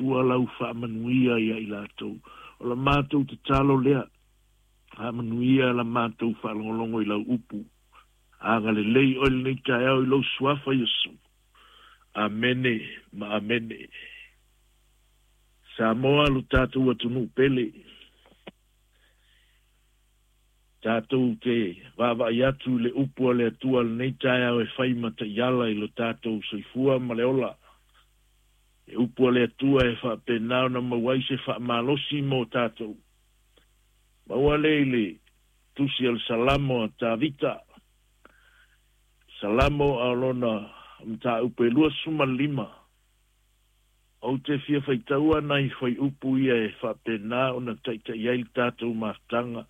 Atua lau faamanuia ia i latou. O la matou tatalo lea, faamanuia la matou faalogologo i lau upu. Agalelei oe lenei taeao i lou suafa Iesu. Amene ma amene. Samoa lo tatou atunuu pele. Tatou te vaavaai atu i le upu a le Atua lenei taeao e fai ma taiala i lo tatou soifua ma le ola. Le upu a le Atua e faapena ona maua ai se faamalosi mo tatou. Maua lea i le tusi o le Salamo a Tavita. Salamo a o lona mataupu e 25. Ou te fia faitaua nai fuaiupu ia e faapena ona taita'i ai le tatou mafutaga,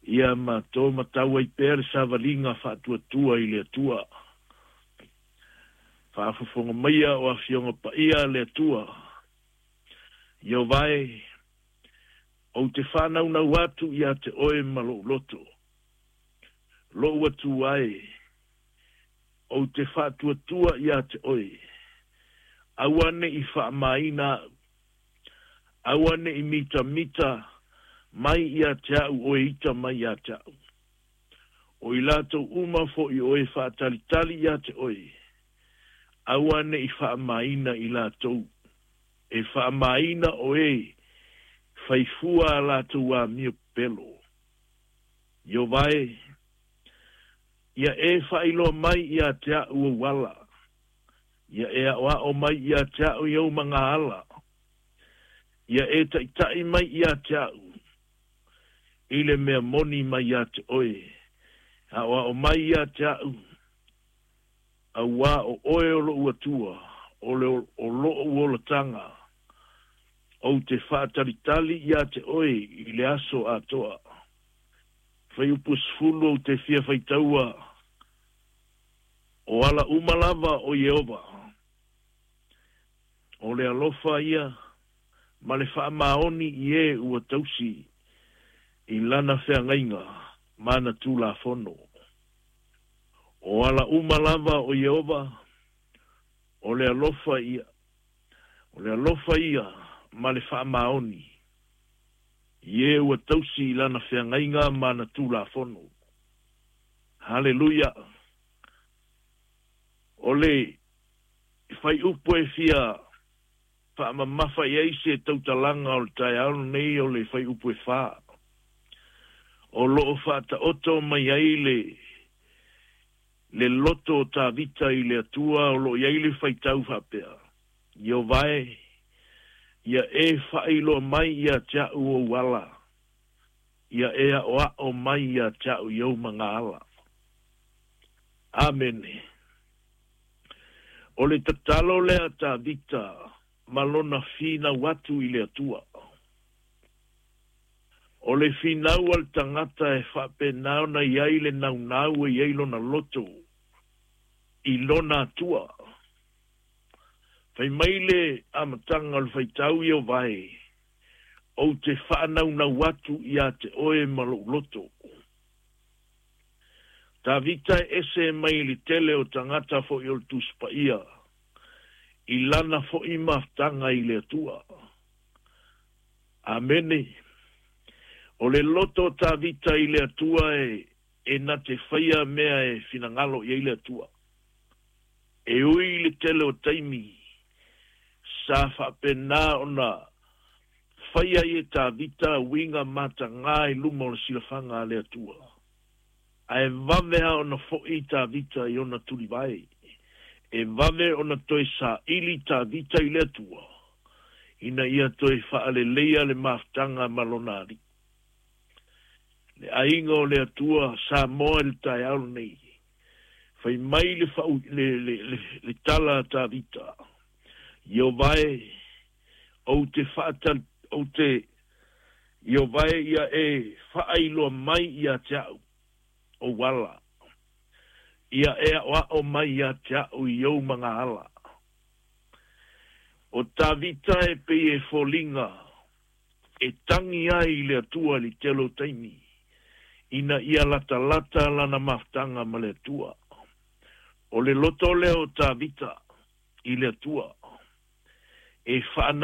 ia ma to matau ai pea le savaliga faatuatua i le Atua. Faafofoga maia o Afioga Paia a le Atua. Ieova e, ou te faanaunau atu ia te oe ma lou loto. Lou Atua e, ou te faatuatua ia te oe. Aua ne i faamaina a'u. Aua ne i mitamita mai ia te a'u o e ita mai ia te a'u. O i latou uma fo'i o e faatalitali ia te oe, aua ne i faamaina i latou. E faamaina o e faifua a latou amio pepelo. Ieova e, ia e faailoa mai ia te a'u ou ala. Ia e aʻoaʻo mai ia te a'u i ou magaala. Ia e taʻitaʻi mai ia te a'u i le mea moni mai ia te oe. Aʻoaʻo mai ia te a'u, auā o oe o loʻu Atua, o le o loʻu olataga, ou te faatalitali ia te oe i le aso atoa. Fuaiupu 10 ou te fia faitaua, o ala uma lava o Ieova. O le alofa ia ma le faamaoni i e ua tausi i lana feagaiga ma ana Tulafono. O ala uma lava o Ieova, o le alofa ia, o le alofa ia ma le faamaoni i e ua tausi i lana feagaiga ma ana Tulafono. Haleluia! O le fuaiupu e fia faamamafa i ai se tautalaga o le taeao lenei o le fuaiupu e 4. O loo faataoto mai ai le loto o Tavita i le Atua o loo i ai le faitau faapea. Ieova e, ia e faailoa mai ia te a'u ou ala, ia e aʻoaʻo mai ia te a'u i ou magaala. Amene. O le tatalo lea Tavita ma lona finau atu i le Atua. O le finau a le tagata e faapena ona i ai le naunau e i ai lona loto i lona Atua. Fai mai le amataga o le faitau, Ieova e, ou te faanaunau atu ia te oe ma lou loto. Tavita e ese mai le tele o tagata fo'i o le Tusi Paia i lana fo'i mafutaga i le Atua. Amene. O le loto o Tavita i le Atua e na te faia mea e finagalo i ai le Atua. E ui i le tele o taimi sa faapena ona faia ai e Tavita uiga matagā i luma o le silafaga a le Atua. Ae vave lava ona fo'i Tavita i ona tulivae. E vave ona toe saili Tavita i le Atua, ina ia toe faaleleia le mafutaga ma lona alii. Le aiga o le Atua Samoa i le taeao lenei, fai mai le tala a Tavita, Ieova e, ou te faatal, ou te, Ieova e, ia e faailoa mai ia te a'u ou ala. Ia e aʻoaʻo mai ia te a'u i ou magaala. O Tavita e pei e foliga e tagi ai i le Atua i le tele o taimi, ina ia latalata lana mafutaga ma le Atua. O le loto lea o Tavita i le Atua e faana